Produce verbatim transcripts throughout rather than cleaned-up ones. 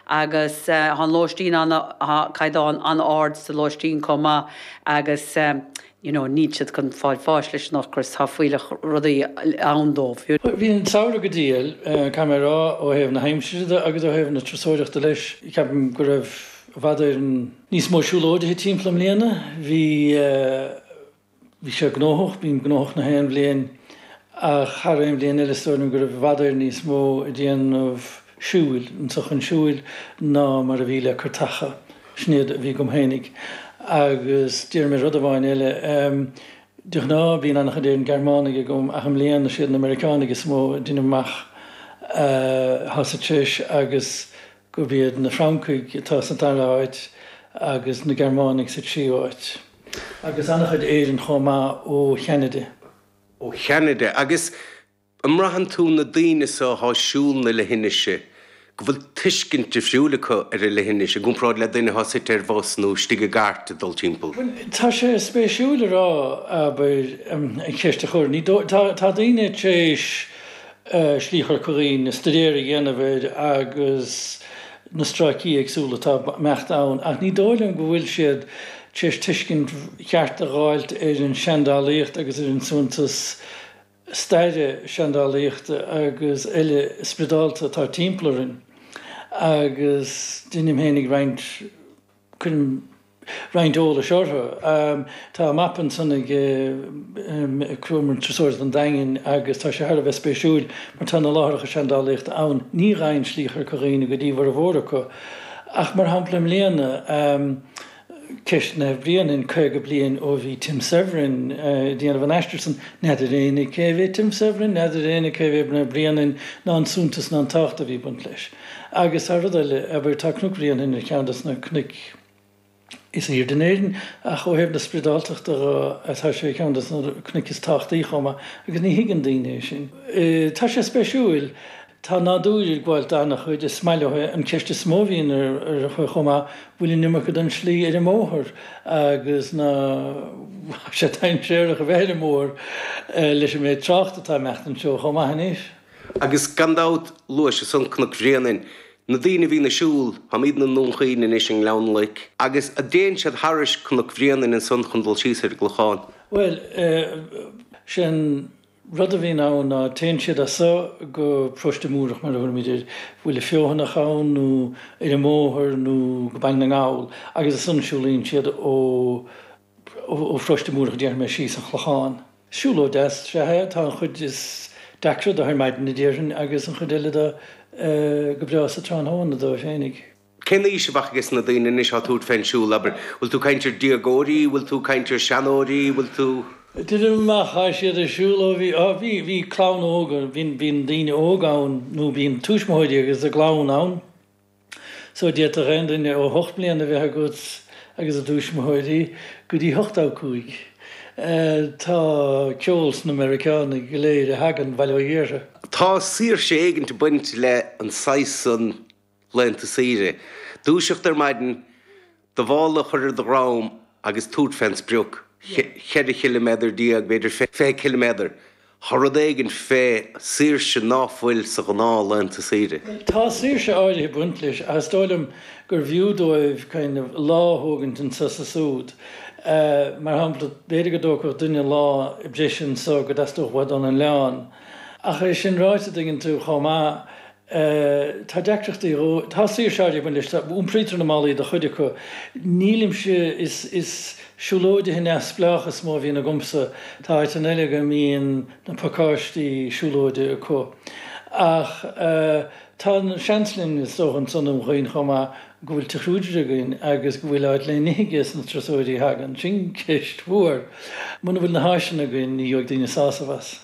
Agus tá an lóistín an caighdeán an-ard sa lóistín chomh maith agus you know, níl siad chun fáil bháis leis an ocras tá fuílleach rudaí ann dóibh. Bhí an samhradh go diail caithfidh mé a rá ó thaobh na haimsire de agus ó thaobh na turasóireachta leis ceapaim go raibh i bhfad Éireann níos mó siúlóidithe timpeall i mbliana. Bhí bhí sé gnóthach, bíonn gnóthach na haon bhliain ach thar aon bhliain eile is dóigh liom go raibh i bhfad Éireann níos mó ag déanamh siúil, anseo chun siúil ná mar a bhí le cur taca. Sin iad a bhí agam fhéinig. Agus déarfaidh mé rud amháin eile, de ghnáth bíonn an-chuid Éireann Gearmánaigh agam ach i mbliana is iad na Meiriceánaigh is mó a deinim amach atá sa treis agus gurb iad na Francaigh atá sa dara háit agus na Gearmánaigh sa tríú háit. Agus an-chuid Éireann chomh maith ó Cheanada. Ó Cheanada. Agus an mbraitheann tú na daoine so atá ag siúl na leithinise, go bhfuil tuiscint difriúil acu ar an leithinis i gcomparáid le duine atá suite ar bhus nó istigh i gcairt ag dul timpeall? Bhuel, tá sé spéisiúil a rá, abair, an cheist a chur. Ní dóigh, tá, tá daoine tar éis Slí Chorca Dhuibhne, staidéar a dhéanamh air agus na stráicí éagsúla atá ag imeacht ann, ach ní dóigh liom go bhfuil siad tar éis tuiscint cheart a dh'fháilt ar an seandálaíocht agus ar an suntas staire, seandálaíochta agus eile spioradálta atá timpeall orainn agus deinim fhéinig roinnt, cuirim roinnt eolais orthu. Tá mapa ansan ag Cumann Turasóireachta an Daingin agus tá sé thar a bheith spéisiúil mar tá na láithreacha seandálaíochta ann. Ní ghabhann Slí Chorca Dhuibhne go dtí a bhformhór acu ach mar shampla i mbliana, Ceist Naomh Bréanainn, caoga bliain ó bhí Tim Severin ag déanamh an aistir san, n'fheadar éinne cé bhé Tim Severin, n'fheadar éinne cé bhé Naomh Bréanainn ná an suntas ná an tábhacht a bhí ag baint leis. Agus tá rud eile, abair, tá Cnoc Bhréanainn ar cheann des na cnoic is aoirde in Éirinn, ach ó thaobh na spioradáltachta dho, tá sé ar cheann des na cnoic is tábhachtaí chomh maith, agus ní thuigeann daoine é sin. Tá sé spéisiúil. Tá nádúr ag gabháil d'an-chuid, is maith leo é. An cheist is mó a bhíonn ar chomh maith, bhfuil an iomarca den slí ar an mbóthar agus ná tá sé dainséarach a bheith ar an mbóthar leis an méid tráchta atá ag imeacht anseo chomh maith anois. Agus gan dabht, luais ansan Cnoc Bhréanainn, na daoine a bhíonn ag siúl, táimidne i nDún Chaoin anois i nGleann Loic, agus a dtéann siad thairis Cnoc Bhréanainn ansan chun dul síos ar an gClochán. Bhuel, sin Rud a bhíonn ann ná téann siad as so go Paróiste Múrach mar a thabharfaimid air, Buaile Feothanach ann nó ar an mbóthar nó go Baile na nGall agus ansan siúlaíonn siad ó ó Pharóiste Múrach déarfaidh mé síos an Chlochán. Siúlóid deas is ea é, tá an chuid is deacra de ar maidin a déarfainn agus an chuid eile de go breá sa tráthnóna dóibh féinig. Cén aois a bheadh ages na daoine anois á tabhairt fén siúl, abair? Bhfuil tú ag caint ar déagóirí, bhfuil tú ag caint ar seanóirí, bhfuil tú. Deirim amach, tá siad ag siúl ó bhí, á bhí, bhí clann óg, bíonn, bíonn daoine óga ann nó bíonn tuismitheoirí agus a gclann ann. So d'fhéadfadh aon duine ó hocht mbliana a bheith agat agus a dtuismitheoirí go dtí ochtó cúig. Tá ceol sna Meiriceánaigh go léir a thagann bail ó Dhia orthu. Tá saoirse éigint ag baint le an saghas san laethanta saoire, dúiseacht ar maidin, do mhála a chur ar do dhrom agus tabhairt fén sprioc, cheithre chiliméadar déag, b'fhéidir fiche ciliméadar. Tá rud éigin fé saoirse ná fuil sa ghnáth laethanta saoire. Tá saoirse áirithe ag baint leis ach is dóigh liom gur bhfiú dóibh kind of lá a thógaint anso 's ansúd. Mar shampla, b'fhéidir go dtógfadh duine lá breise anso go dteastódh uaidh dul 'on oileán. Ach é sin ráite, tuigeann tú chomh maith, Tá deacrachtaí dhó. Tá saoirse áirithe ag baint leis. Iompraítear na málaí do chuid acu. Nílimse, is, is siúlóidithe neamhspleácha is mó a bhíonn agamsa. Tá áiteanna eile go mbíonn na pacáistí siúlóide acu. Ach tá an seans linn, is dócha, ansan i nDún Chaoin chomh maith, go bhfuil teach rúidire againn agus go bhfuil áit le n-ithe ages na turasóirí a thagann. Sin ceist mhór. Muna bhfuil na háiseanna againn, ní gheobhaidh daoine sásamh as.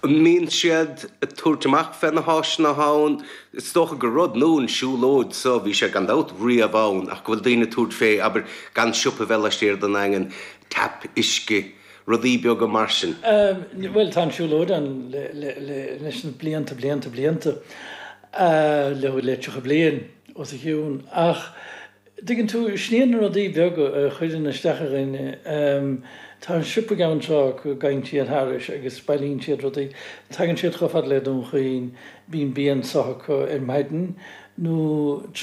An mbíonn siad ag tabhairt amach fé na háiseanna atá ann? Is dócha gur rud nua an siúlóid so, bhí sé gan dabht riamh ann, ach go bhfuil daoine ag tabhairt fé, abair, gan siopa a bheith laistiar den nDaingean, tap uisce, rudaí beaga mar sin. Bhuel, tá an siúlóid ann leis na blianta, blianta, blianta, le le tríocha bliain os a chionn, ach Tuigeann tú, sin iad na rudaí beaga a chuireann isteach ar dhuine. Tá an siopa i gCeann Trá acu, gabhann siad thairis agus bailíonn siad rudaí. Tagann siad chomh fada le Dún Chaoin, bíonn bia anso acu ar maidin nó tráthnóna.